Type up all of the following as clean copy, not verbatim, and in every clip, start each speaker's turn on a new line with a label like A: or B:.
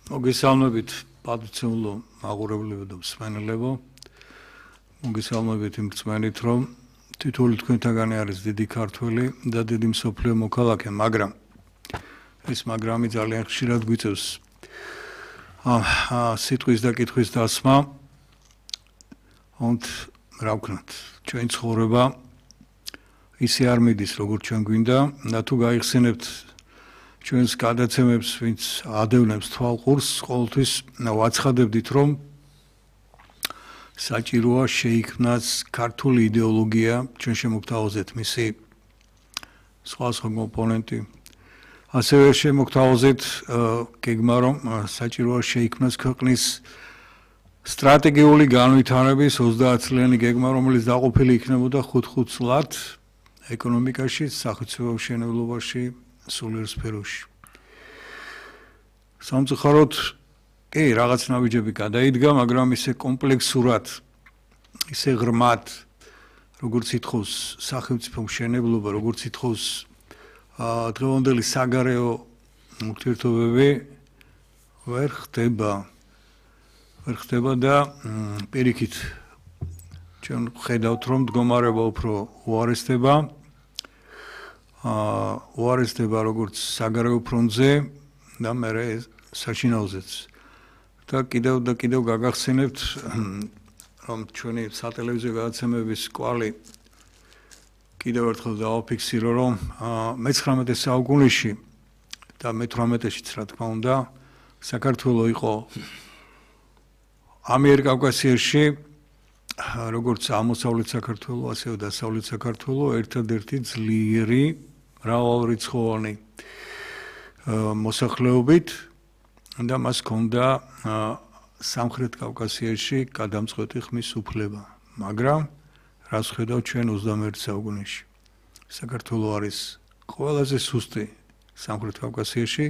A: მოგესალმებით პატრიციულო მაყურებლებო და მსმენელებო. მოგესალმებით იმ რწმენით, რომ თითოეული თქვენთაგანი არის დიდი ქართველი და დიდი მსოფლიო მოქალაქე, მაგრამ ეს მაგრამი ძალიან ხშირად გვიწევს სიტყვის და კითხვის დასმა. რა ვქნათ, ჩვენი ცხოვრება ისე არ მიდის, როგორც ჩვენ გვინდა და თუ გაიხსენებთ ჩვენს გადაცემებს, ვინც ადევნებს თვალყურს, ყოველთვის ვაცხადებდით, რომ საჭიროა შეიქმნას ქართული იდეოლოგია ჩვენ შემოგთავაზეთ მისი სხვადასხვა კომპონენტი. ასევე შემოგთავაზეთ გეგმა, რომ საჭიროა შეიქმნას ქვეყნის სტრატეგიული განვითარების 30 წლიანი გეგმა, რომელიც დაყოფილი იქნებოდა 5 წლად ეკონომიკაში, სახელმწიფო მშენებლობაში, სულიერ სფეროში. სამწუხაროდ, რაღაც ნაბიჯები გადაიდგა, მაგრამ ისე კომპლექსურად, ისე ღრმად, როგორც ითხოვს სახელმწიფო მშენებლობა, როგორც ითხოვს დღევანდელი საგარეო ურთიერთობები, ვერ ხდება და პირიქით ჩვენ ხედავთ, რომ მდგომარეობა უფრო უარესდება როგორც საგარეო ფრონტზე და მერე საშინაოზეც. და კიდევ გაგახსენებთ, რომ ჩვენი სატელევიზიო გადაცემების კვალი კიდევ ერთხელ დავაფიქსირო, რომ მე-19 საუკუნეში და მე-18-შიც, რა თქმა უნდა, საქართველო იყო ამიერკავკასიაში, როგორც აღმოსავლეთ საქართველო, ასევე დასავლეთ საქართველო, ერთადერთი ძლიერი მრავალრიცხოვანი მოსახლეობით და მას ჰქონდა სამხრეთ კავკასიაში გადამწყვეტი ხმის უფლება. მაგრამ რას ხედავთ ჩვენ 21 საუკუნეში? საქართველო არის ყველაზე სუსტი სამხრეთ კავკასიაში.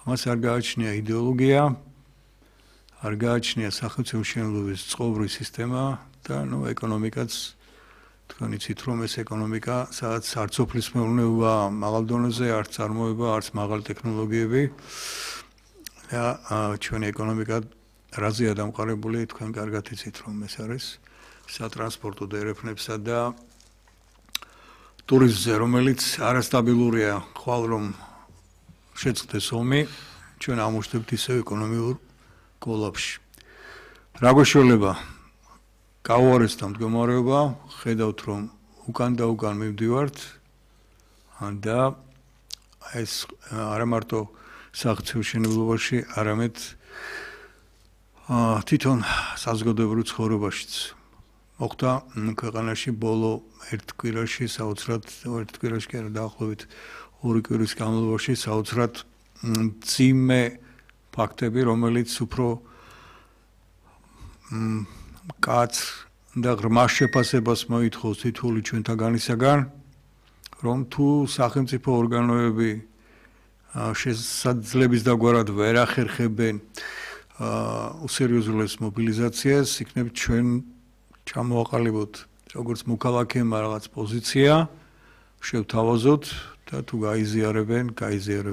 A: მას არ გააჩნია იდეოლოგია, არ გააჩნია სახელმწიფო მშენებლობის წყობრივი სისტემა და ეკონომიკაც თქვენ იცით, რომ ეს ეკონომიკა, სადაც არც სოფლის მეურნეობა მაღალ დონეზე, არც წარმოება, არც მაღალი ტექნოლოგიები და ჩვენი ეკონომიკა რაზეა დამყარებული, თქვენ კარგად იცით, რომ ეს არის სატრანსპორტო დერეფნებსა და ტურიზმზე, რომელიც არასტაბილურია, ხვალ რომ შეწყდეს ომი, ჩვენ ამოშთებთ ისევ ეკონომიურ კოლაფში. რა გვეშველება? გაუარესდა მდგომარეობა, ხედავთ, რომ უკან და უკან მივდივართ და ეს არა მარტო სახელმწიფო მშენებლობაში, არამედ თვითონ საზოგადოებრივ ცხოვრებაშიც. მოხდა ქვეყანაში ბოლო ერთ კვირაში, დაახლოებით 2 კვირის განმავლობაში საოცრად მძიმე ფაქტები, რომელიც უფრო კაც და ღრმა შეფასებას მოითხოვს თითოეული ჩვენთაგანისაგან, რომ თუ სახელმწიფო ორგანოები შესაძლების დაგვარად ვერ ახერხებენ უსერიოზულეს მობილიზაციას, იქნებ ჩვენ ჩამოვაყალიბოთ როგორც მოქალაქეებმა რაღაც პოზიცია, შევთავაზოთ და თუ გაიზიარებენ, გაიზიარებენ.